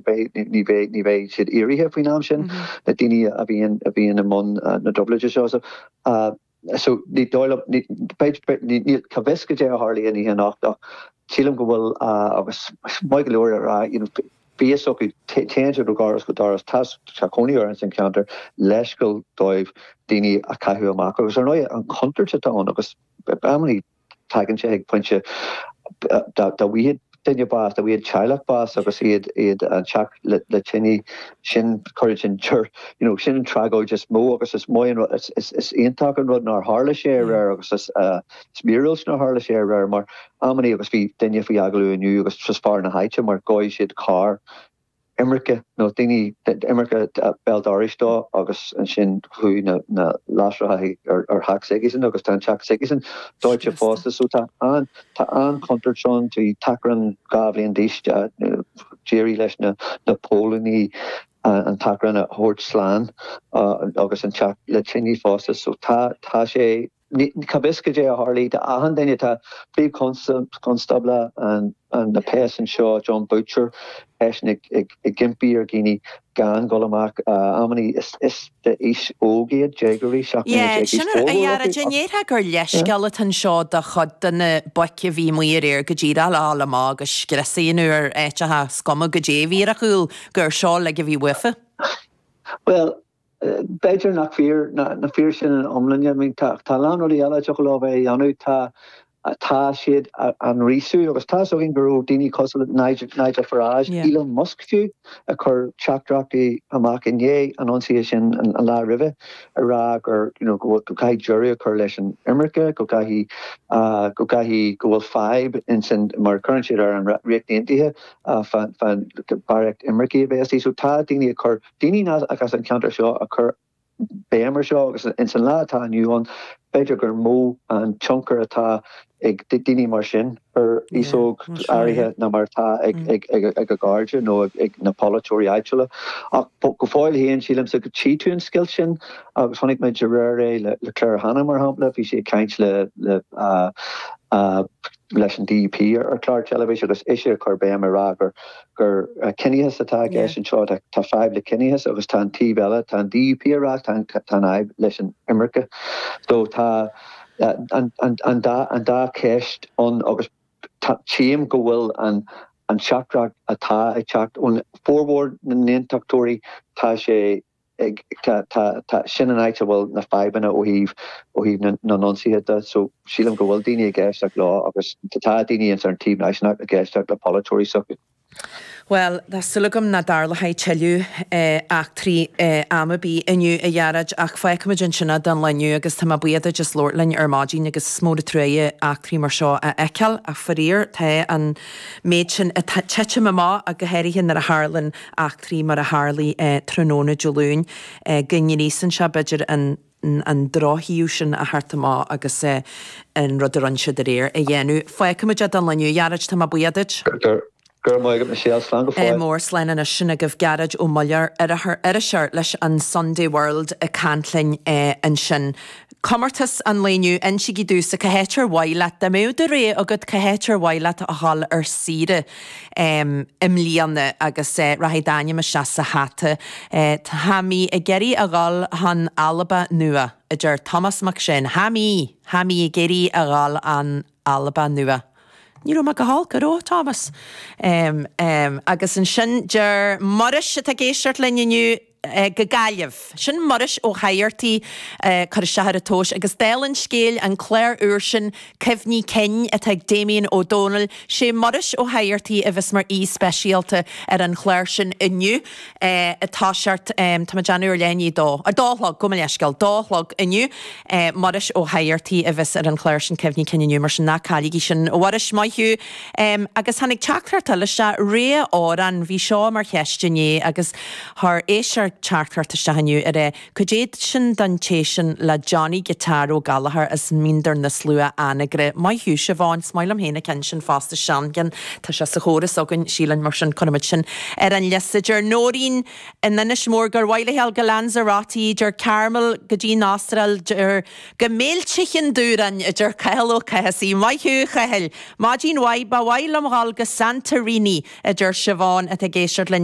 beidh, ní bheidh, ní bheidh siad éirithe faoin am sin, na daoine a bhíonn, a bhíonn i mbun na dtrioblóide seo. So, so ní dóigh liom, ní, beidh, ní, níl, cá bhfios goidé a tharlaigh an oíche anocht ach sílim go bhfuil, agus maith go leor a rá, you know, bhí fhios acu, téann siad ó dhoras go doras, tá, tá cónaí orthu ins an cheantar, leithscéal dóibh daoine a chaitheamh amach agus ar ndóigh an chontúirt atá ann agus amannaí tagann sé ag pointe dá bhfaigheadh duine bás, dá bhfaigheadh teaghlach bás agus iad iad an teach le le tine, sin cuireann sin you know sin an tragóid is mó agus is maith an rud is is is iontach an rud nár tharla sé aréir agus is is míorúilt nár tharla sé aréir mar amannaí agus bhí duine faoi agallamh inniu agus just fear na háite mar ghoid siad carr imirce nó daoine imirce béal dorais dó agus ansin chuaigh na na lasracha ar ar theach s'aigesean agus tá an teach s'aigesean dóite fosta so tá an tá an-chontúirt ann bhí tachrán 2 bhliain d'aois d'éirigh leis na na póilíní an tachrán a thabhairt slán agus an teach le tine fosta so tá tá sé Cá bhfios goidé a tharlaigh do achan duine. Tá Príomh-Chonstábla na bpéas anseo, Jon Boutcher, eisean ag impí ar dhaoine gan dul amach. Amannaí is d'aois óg iad, déagóirí, 17 mbliana d'aois. Sin a Ghearóid, an ndéarfá gur leithscéal atá anseo do chuid de na boic a bhí amuigh aréir go díreach le dhul amach agus scrios a dhéanamh ar áiteacha is cuma goidé a bhí ar a chúl, gur seo uilig a bhí uafa? Bhuel, B'fhéidir nach fíor, nach fíor sin ina iomláine. I mean tá tá a lán rudaí eile a dtiocfadh leo bheith a dhéanamh. Tá tá siad á ngríosú agus tá 'fhios againn go raibh daoine cosúil le Nigel Nigel Farage, Yeah. Elon Musk fiú, ag cur teachtaireachtaí amach i ndiaidh an ionsaithe sin an an lá roimhe ag rá gur you know go bhfuil go gcaithfidh deireadh a chur leis an imirce, go gcaithfidh go gcaithfidh go bhfuil fadhb insan mar cuireann siad ar an Ríocht Aontaithe fán fán barraíocht imircigh a bheith istigh. So tá daoine ag cur Daoine nach as an cheantar seo ag cur béim ar seo agus ins an lá atá inniu ann, b'fhéidir gur mó an tionchar atá ag daoine mar sin ar aos óg áirithe ná mar atá ag a gcairde nó ag na polaiteoirí áitiúla. Ach go fóill féin, sílimse go dtí tú an scoilt sin agus chonaic muid aréir é le Claire Hanna mar shampla, bhí sí ag caint le leis an DUP ar chlár teilifíse agus ise ag cur béim ag rá gur gur ciníochas atá i gceist anseo, tá fadhb le ciníochas agus tá an taobh eile, tá an DUP ag rá tá an fhadhb leis an imirce. So tá an an dá an dá cheist ann agus tchím go bhfuil an an teachtaireacht atá ag teacht ón formhór na n-aontachtóirí, tá sé ag, tá, tá, tá, sin an áit a bhfuil na fadhbanna ó thaobh, ó thaobh na, na n-ionsaithe de. So, sílim go bhfuil daoine ag éisteacht leo agus tá daoine ins an taobh náisiúnach ag éisteacht le polaiteoirí s'acu. Bhuel, tá súil agam nach dtarlóidh tuilleadh eachtraí am ar bith inniu, a Ghearóid, ach fágfaimid ansin é don lá inniu agus tá mé buíoch duit as labhairt linn ar maidin agus is mór an truaighe eachtraí mar seo a fheiceáil ach faraor tá an méid sin ag titim amach ach go háirithe nuair a tharlann eachtraí mar a tharlaigh tráthnóna Dé Luain, go ngríosann sé, b'fhéidir, an an drochthaobh sin a theacht amach agus an rud a rinne siad aréir a dhéanamh. Fágfaimid é don lá inniu, a Ghearóid, tá mé buíoch duit. Go raibh maith agat, Michelle. Slán go fóill. Mór slán anois. Sin agaibh Gearóid Ó Muilleoir, iriseoir leis an Sunday World ag caint linn ansin. Comórtas an lae inniu, insígí domhsa cá háit ar mhaith leat, dá mbeadh do rogha agat, cá háit ar mhaith leat a dhul ar saoire i mbliana agus rachaidh d'ainm isteach sa hata. Tá mé ag iarraidh a dhul chun Alba Nua, a deir Tomás Mac Seáin. Tá mé, tá mé ag iarraidh a dhul an Alba Nua. Ní raibh mé go holc, an raibh, a Thomas? Agus ansin deir Muiris atá ag éisteacht linn inniu, go Gaillimh. Sin Muiris Ó hÁdhartaigh ag cur isteach ar an tomhas agus dála an scéil, an clár úr sin, Cuimhní Cinn, atá ag Damien Ó Dónaill, sé Muiris Ó hÁdhartaigh a bheas mar aoi speisialta ar an chlár sin inniu ag toiseacht, tá mé ag déanamh ar leath i ndiaidh a dó, a dó a chlog, gabh mo leithscéal, dó a chlog inniu. Muiris Ó hÁdhartaigh a bheas ar an chlár sin Cuimhní Cinn inniu, mar sin ná cailligí sin. A Mhuiris, maith thú. Agus tháinig teachtaireacht eile isteach, rogha amhrán, bhí seo mar cheist inné agus Chuir éisteoir teachtaireacht isteach inniu ag rá, Cad é sin don té sin le Johnny Guitar Ó Gallchóir as Míndar na Slua, Anagaire. Maith thú, Siobhán, is maith liom féin an ceann sin fosta, seancheann. Tá sé sa chóras againn, sílim, mar sin cuirfimid sin ar an liosta. Deir Nóirín in Inis Mór gur mhaith léi dul go Lanzarote, deir Carmel go dtí an Astráil, deir go Méilte Chinn Dúráin, a deir Cathal Ó Cathasaigh. Maith thú, a Chathail. Maidin mhaith, ba mhaith liom dhul go Santorini, a deir Siobhán atá ag éisteacht linn.